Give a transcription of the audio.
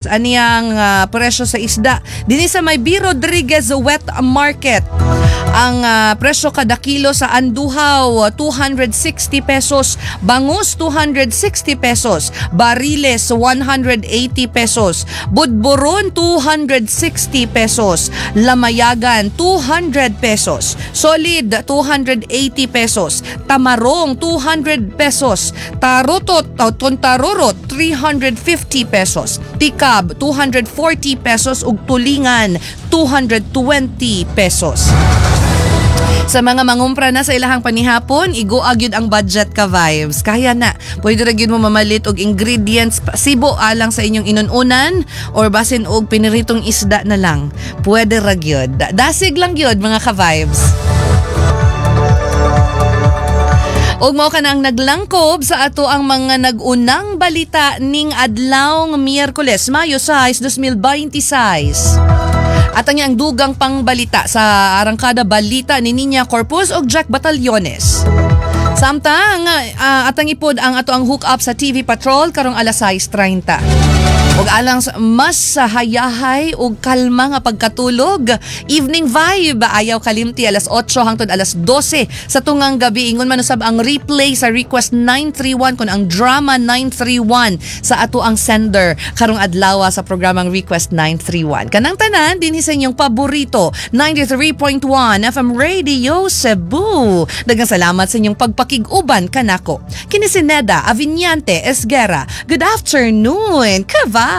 Aniyang presyo sa isda dinhi sa may B. Rodriguez Wet Market. Ang presyo kada kilo sa anduhaw, 260 pesos, bangus, 260 pesos, bariles, 180 pesos, budburon, 260 pesos, lamayagan, 200 pesos, solid, 280 pesos, tamarong, 200 pesos, tarutot o tontarurot, 350 pesos, tikab, 240 pesos ug tulingan, 220 pesos. Sa mga mangumpra na sa ilahang panihapon, iguag yun ang budget, ka vibes. Kaya na. Pwede ra gyud mo mamalit og ingredients sibo alang sa inyong inununan or basin og piniritong isda na lang. Pwede ra gyud. Dasig lang gyud, mga ka-vibes. Ug mao ka na ang naglangkob sa ato ang mga nag-unang balita ning adlawng Miyerkules, Mayo 6, 2026. At ang dugang pangbalita sa Arangkada Balita ni Ninya Corpus ug Jack Batallones. Samtang atang ipod ang ato ang hook up sa TV Patrol karong alas 6:30. Ug alang sa mas sa hayahay ug kalma nga pagkatulog, Evening Vibe, ayaw kalimti, alas 8 hangtod alas 12 sa tungang gabi. Ingon man usab ang replay sa Request 931 kon ang Drama 931 sa ato ang sender karong adlaw sa programang Request 931. Kanang tanan dinhi sa inyong paborito, 93.1 FM Radio Cebu. Daghang salamat sa inyong pagpakig-uban kanako. Kini si Neda Aviniante Esguera. Good afternoon, ka-vibes!